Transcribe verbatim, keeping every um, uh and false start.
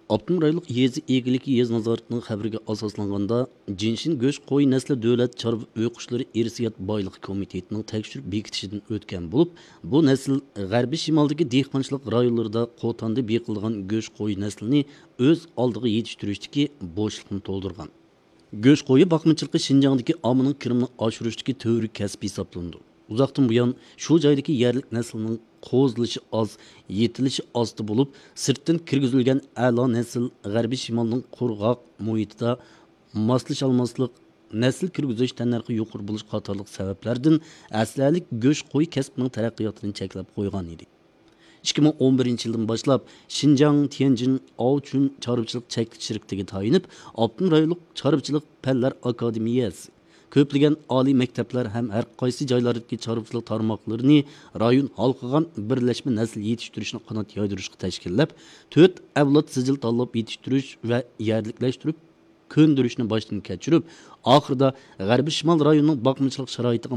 ئاپتونوم رايونلۇق يېزا ئىگىلىكى يېزا نازارىتىنىڭ خەۋىرىگە ئاساسلانغاندا، جىنشىن گۆش قوي نەسلى دۆلەت چارۋا ئۆي قۇشلىرى ئىرسىيەت بايلىقى كومىتېتىنىڭ تەكشۈرۈپ بېكىتىشىدىن ئۆتكەن بولۇپ، بۇ نەسىل غەربىي شىمالدىكى دېھقانچىلىق رايونلىرىدا قوتاندا بېقىلىدىغان گۆش قوي نەسلىنى ئۆز ئالدىغا يېتىشتۈرۈشتىكى بوشلۇقنى تولدۇرغان. گۆش قويى باقمىچىلىقى شىنجاڭدىكى ئاممىنىڭ كىرىمىنى ئاشۇرۇشتىكى تۈۋرۈك كەسىپ ھېسابلىنىدۇ. ئۇزاقتىن بۇيان شۇ جايدىكى يەرلىك نەسىلنىڭ قوزىلىشى ئاز، يېتىلىشى ئاستى بولۇپ، سىرتتىن كىرگۈزۈلگەن ئەلا نەسىل غەربىي شىمالنىڭ قۇرغاق مۇھىتىدا ماسلىشالماسلىق، نەسىل كىرگۈزۈش تەننەرخى يۇقىرى بولۇش قاتارلىق سەۋەبلەردىن ئەسلىھەلىك گۆش قوي كەسپىنىڭ تەرەققىياتىنى چەكلەپ قويغان ئىدى. ئىككى مىڭ ئون بىرىنچى يىلدىن باشلاپ شىنجاڭ تيەنجىن ئاۋچۈن چارۋىچىلىق چەكلىك شىركىتىگە تايىنىپ، ئاپتونوم رايونلۇق چارۋىچىلىق پەنلەر ئاكادېمىيەسى، كۆپلىگەن ئالىي مەكتەپلەر ھەم ھەر قايسى جايلاردىكى چارۋىچىلىق تارماقلىرىنى رايون ھالقىغان بىرلەشمە نەسىل يېتىشتۈرۈشنى قانات يايدۇرۇشقا تەشكىللەپ، تۆت ئەۋلاد سىجىل تاللاپ يېتىشتۈرۈش ۋە يەرلىكلەشتۈرۈپ كۆندۈرۈشنى باشتىن كەچۈرۈپ، ئاخىرىدا غەربىي شىمال رايونىنىڭ باقمىچىلىق شارائىتىغا